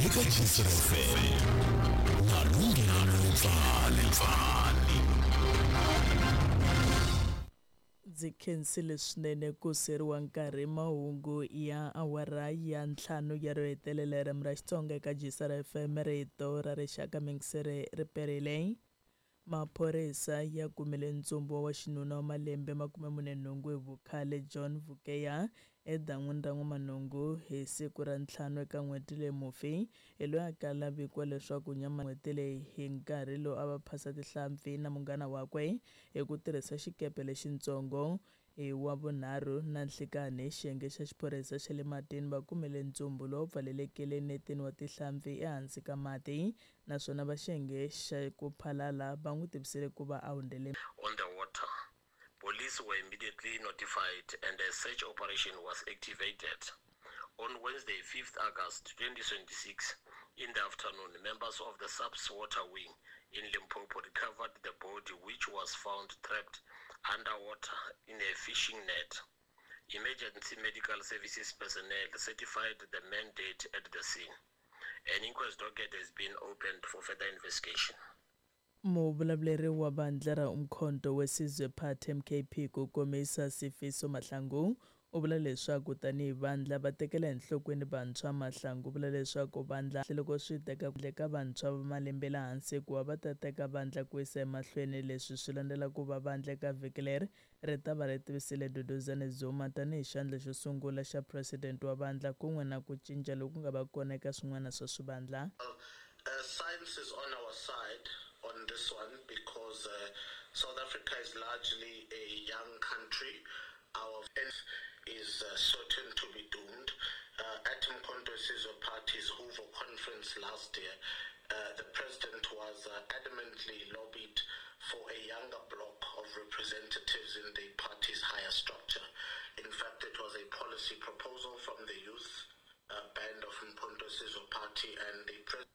Eka GCFM na Lunghelo Pfani Pfani. Ndzi khensile swinene ku seriwa nkarhi mahungu ya awara ya ntlhanu ya ro hetelela hi ririmi ra Xitsonga eka GCR FM rito ra rixaka mingisere ri perile. Maphorisa ya kumile ntsumbu wa waxinuna wa malembe 48 hi vukhale John Vukeya edan'wini ra N'wamanungu hi siku ra ntlhanu eka n'hweti leyi. Mufi hi loyi a kala vikiwa leswaku nyama n'hweti leyi hi nkarhi lowu a va phasa tihlampfi na munghana wakwe hi ku tirhisa xikepe lexintsongo. Hi Wavunharhu na nhlikanhi, xiyenge xa xiphorisa xa le matini va kumile ntsumbu lowu pfalelekile netini wa tihlampfi ehansi ka mati naswona va xiyenge xa ku phalala va n'wi tivisile ku va a hundzele On the water. Police were immediately notified and a search operation was activated. On Wednesday, 5th August 2026, in the afternoon, members of the SAPS Water Wing in Limpopo recovered the body, which was found trapped underwater in a fishing net. Emergency medical services personnel certified the man dead at the scene. An inquest docket has been opened for further investigation. Muvulavuleri wa vandla ra Umkhonto weSizwe Party MKP ku komisa Sifiso Mahlangu u vula leswaku tanihi vandla va tekela enhlokweni vantshwa. Mahlangu u vula leswaku vandla loko swi teka ka vantshwa va malembe le hansi ku va va ta teka vandla ku yisa emahlweni. Leswi swi landzela ku va vandla eka vhiki leri ri ta va ri tivisile Duduzane Zuma tanihi xandla xo sungula xa president wa vandla kun'we na ku cinca loku nga va kona eka swin'wana swa swivandla. Science is on our side on this one because South Africa is largely a young country. Our is certain to be doomed. At Mkhonto Sizwe Party's Hoover conference last year, the president was adamantly lobbied for a younger bloc of representatives in the party's higher structure. In fact, it was a policy proposal from the youth band of Mkhonto Sizwe Party and the president.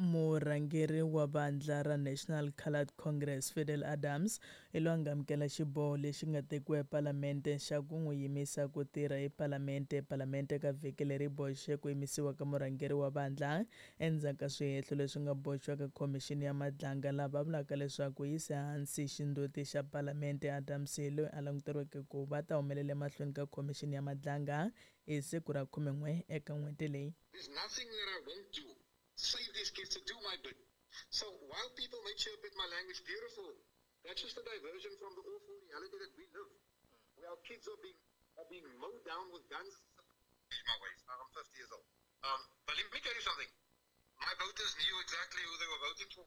Murhangeri wa vandla ra National Coloured Congress Fidel Adams hi loyi a nga amukela xiboho lexi nga tekiwa ePalamente xa ku n'wi yimisa ku tirha ePalamente. Palamente ka vhiki leri boxe ku yimisiwa ka murhangeri wa vandla endzhaku ka swihehlo leswi nga boxiwa ka khomixini ya Madlanga lava vulaka leswaku yise hansi xindzhuti xa Palamente. Adams hi loyi a languteriweke ku va ta humelela emahlweni ka khomixini ya Madlanga hi siku ra 11 eka n'hweti leyi. There's nothing that I won't do. Save these kids to do my bit. So while people may chirp at my language, beautiful, that's just a diversion from the awful reality that we live, where our kids are being mowed down with guns. My ways. I'm 50 years old. But let me tell you something. My voters knew exactly who they were voting for.